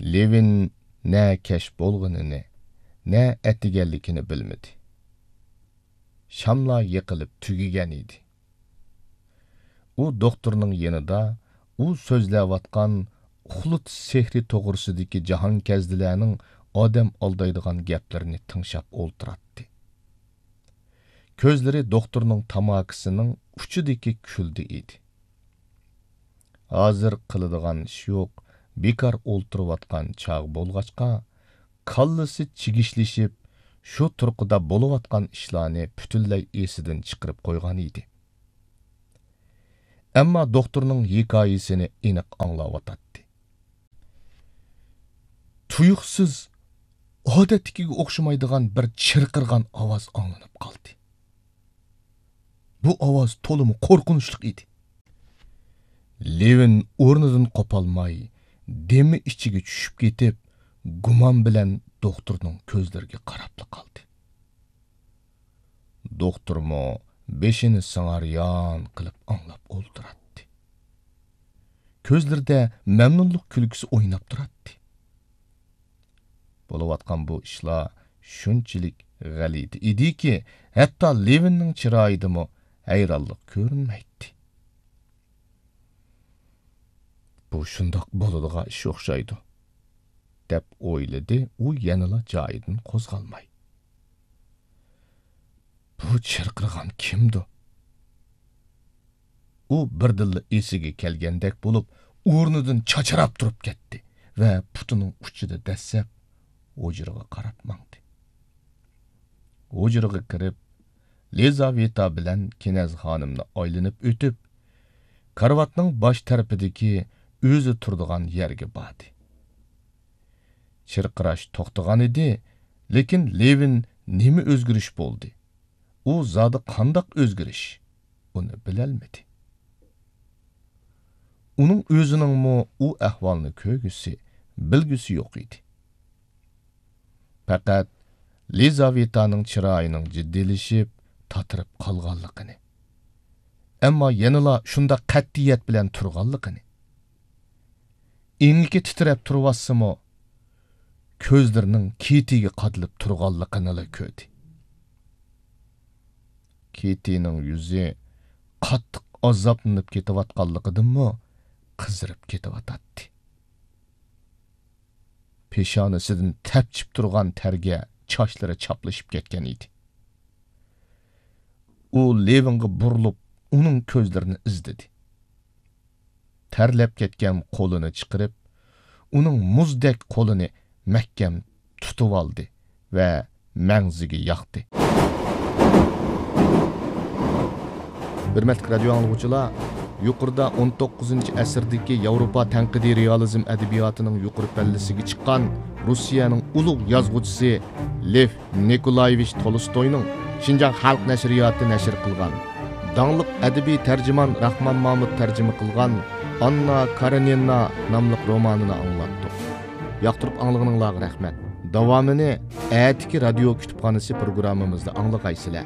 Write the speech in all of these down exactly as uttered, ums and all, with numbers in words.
لېۋىن نە كەچ بولغىنىنى، نە ئەتىگەنلىكىنى بىلمىدى. شاملار يېقىلىپ تۈگىگەن ئىدى. ئۇ دوختۇرنىڭ يېنىدا ئۇ سۆزلەۋاتقان ئۇخلىتىش سېھرى توغرىسىدىكى جاھانكەزدىلەرنىڭ ئادەم ئالدايدىغان گەپلىرىنى تىڭشاپ ئولتۇراتتى. كۆزلىرى دوختۇرنىڭ تاماكىسىنىڭ ئۇچىدىكى كۈلدە ئىدى. ھازىر قىلىدىغان ئىش يوق، بىكار ئولتۇرۇۋاتقان چاغ بولغاچقا، كاللىسى چىگىشلىشىپ، شۇ تۇرقىدا بولۇۋاتقان ئىشلارنى پۈتۈنلەي ئېسىدىن چىقىرىپ قويغان ئىدى. ئەمما دوختۇرنىڭ ھېكايىسىنى ئېنىق ئاڭلاۋاتاتتى. تۇيۇقسىز ئادەتتىكىگە ئوخشىمايدىغان بىر چىرقىرىغان ئاۋاز ئاڭلىنىپ قالدى. بۇ ئاۋاز تولىمۇ قورقۇنچلۇق ئىدى. لېۋىن ئورنىدىن قوپالماي، دېمى ئىچىگە چۈشۈپ كېتىپ، گۇمان بىلەن دوختۇرنىڭ كۆزلىرىگە قاراپلا قالدى. دوختۇرمۇ بېشىنى سىڭاريان قىلىپ ئاڭلاپ ئولتۇراتتى. كۆزلىرىدە مەمنۇنلۇق كۈلكىسى ئويناپ تۇراتتى. بولۇۋاتقان بۇ ئىشلار شۇنچىلىك غەلىتە ئىدىكى، ھەتتا لېۋىننىڭ چىرايىدىمۇ ھەيرانلىق كۆرۈنمەيتتى. بۇ شۇنداق بولىدىغان ئىش ئوخشايدۇ، دەپ ئويلىدى ئۇ يەنىلا جايىدىن قوزغالماي. بۇ چىرقىرىغان كىمدۇ؟ ئۇ بىردىنلا ئېسىگە كەلگەندەك بولۇپ، ئورنىدىن چاچراپ تۇرۇپ كەتتى ۋە پۇتىنىڭ ئۇچىدا دەسسەپ ھۇجرىغا قاراپ ماڭدى. ھۇجرىغا كىرىپ، لىزاۋېتا بىلەن كىنەز خانىمنى ئايلىنىپ ئۆتۈپ، كارىۋاتنىڭ باش تەرىپىدىكى ئۆزى تۇرىدىغان يەرگە باردى. چىرقىراش توختىغان ئىدى، لېكىن لېۋىن نېمە ئۆزگىرىش بولدى؟ ئۇ زادى قانداق ئۆزگىرىش؟ ئۇنى بىلەلمىدى. ئۇنىڭ ئۆزىنىڭمۇ ئۇ ئەھۋالنى كۆرگۈسى، بىلگۈسى يوق ئىدى. پەقەت لىزاۋېتانىڭ چىرايىنىڭ جىددىيلىشىپ، تاتىرىپ قالغانلىقىنى، ئەمما يەنىلا شۇنداق قەتئىيەت بىلەن تۇرغانلىقىنى، ئېڭىكى تىترەپ تۇرۇۋاتسىمۇ، كۆزلىرىنىڭ كېتىگە قادىلىپ تۇرغانلىقىنىلا كۆردى. كېتىنىڭ يۈزى قاتتىق ئازابلىنىپ كېتىۋاتقانلىقىدىنمۇ قىزىرىپ كېتىۋاتاتتى. پېشانىسىدىن تەپچىپ تۇرغان تەرگە چاچلىرى چاپلىشىپ كەتكەن ئىدى. ئۇ لېۋىنغا بۇرۇلۇپ، ئۇنىڭ كۆزلىرىنى ئىزدىدى. تەرلەپ كەتكەن قولىنى چىقىرىپ، ئۇنىڭ مۇزدەك قولىنى مەھكەم تۇتۇۋالدى ۋە مەڭزىگە ياقتى. ھۆرمەتلىك رادىيو ئاڭلىغۇچىلار، يۇقىرىدا ئون توققۇزىنچى ئەسىردىكى ياۋروپا تەنقىدىي رېئالىزم ئەدەبىياتىنىڭ يۇقىرى پەللىسىگە چىققان روسىيەنىڭ ئۇلۇغ يازغۇچىسى لېف نىكولايېۋىچ تولستوينىڭ شىنجاڭ خەلق نەشرىياتى نەشر قىلغان، داڭلىق ئەدەبىي تەرجىمان راخمان مامۇت تەرجىمە قىلغان ئاننا كارېنىنا ناملىق رومانىنى ئاڭلاتتۇق. ياقتۇرۇپ ئاڭلىغىنىڭلارغا رەھمەت. داۋامىنى ئەتىكى رادىيو كۇتۇپخانىسى پروگراممىمىزدا ئاڭلىغايسىلەر.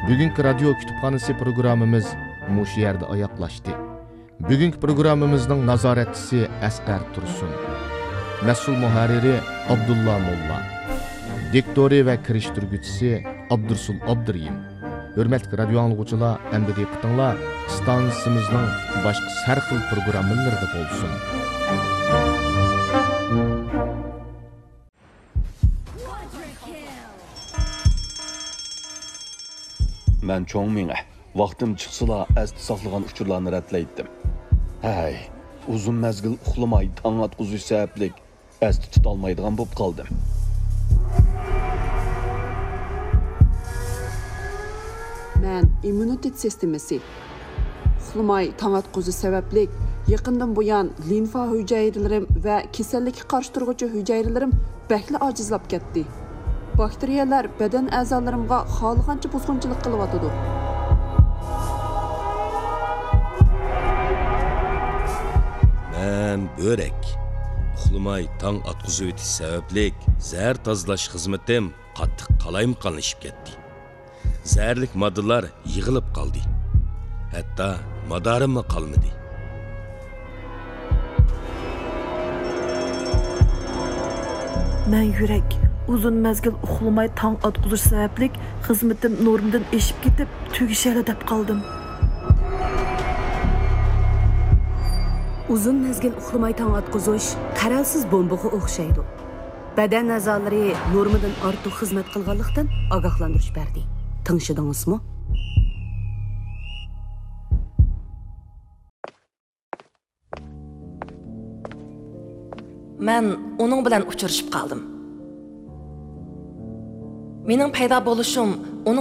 بۈگۈنكى رادىيو كۇتۇپخانىسى پروگراممىمىز مۇشۇ يەردە ئاياغلاشتى. بۈگۈنكى پروگراممىمىزنىڭ نازارەتچىسى ئەسقەر تۇرسۇن. مەسئۇل مۇھەررىرى ئابدۇللا موللا. دىكتورى ۋە كىرىشتۈرگۈچىسى ئابدۇرسۇل ئابدۇرېھىم. ھۆرمەتلىك رادىيو ئاڭلىغۇچىلار، ئەمدى دىققىتىڭلار ئىستانسىمىزنىڭ باشقا سەرخىل پروگراممىلىرىدا بولسۇن. مەن چوڭ مېڭە. ۋاقتىم چىقسىلا ئەستە ساقلىغان ئۇچۇرلارنى رەتلەيتتىم. ھەي، ئۇزۇن مەزگىل ئۇخلىماي تاڭ ئاتقۇزۇش سەۋەبلىك ئەستە تۇتالمايدىغان بولۇپ قالدىم. مەن ئىممۇنىتېت سىستېمىسى، ئۇخلىماي تاڭ ئاتقۇزۇش سەۋەبلىك يېقىندىن بۇيان لىمفا ھۈجەيرىلىرىم ۋە كېسەللىككە قارشى تۇرغۇچى ھۈجەيرىلىرىم بەكلا ئاجىزلاپ كەتتى. باكتېرىيەلەر بەدەن ئەزالىرىمغا خالىغانچە بۇزغۇنچىلىق قىلىۋاتىدۇ. مەن بۆرەك. ئۇخلىماي تاڭ ئاتقۇزۇۋېتىش سەۋەبلىك زەھەر تازىلاش خىزمىتىم قاتتىق قالايمىقانلىشىپ كەتتى. زەھەرلىك ماددىلار يىغىلىپ قالدى. ھەتتا مادارىممۇ قالمىدى. مەن يۈرەك، ئۇزۇن مەزگىل ئۇخلىماي تاڭ ئاتقۇزۇش سەۋەبلىك خىزمىتىم نورمىدىن ئېشىپ كېتىپ، تۈگىشەرلا دەپ قالدىم. ئۇزۇن مەزگىل ئۇخلىماي تاڭ ئاتقۇزۇش قەرەلسىز بومبىغا ئوخشايدۇ. بەدەن ئەزالىرى نورمىدىن ئارتۇق خىزمەت قىلغانلىقتىن ئاگاھلاندۇرۇش بەردى. تىڭشىدىڭىزمۇ؟ مەن ئۇنىڭ بىلەن ئۇچرىشىپ قالدىم. مېنىڭ پەيدا بولۇشۇم ئۇنىڭ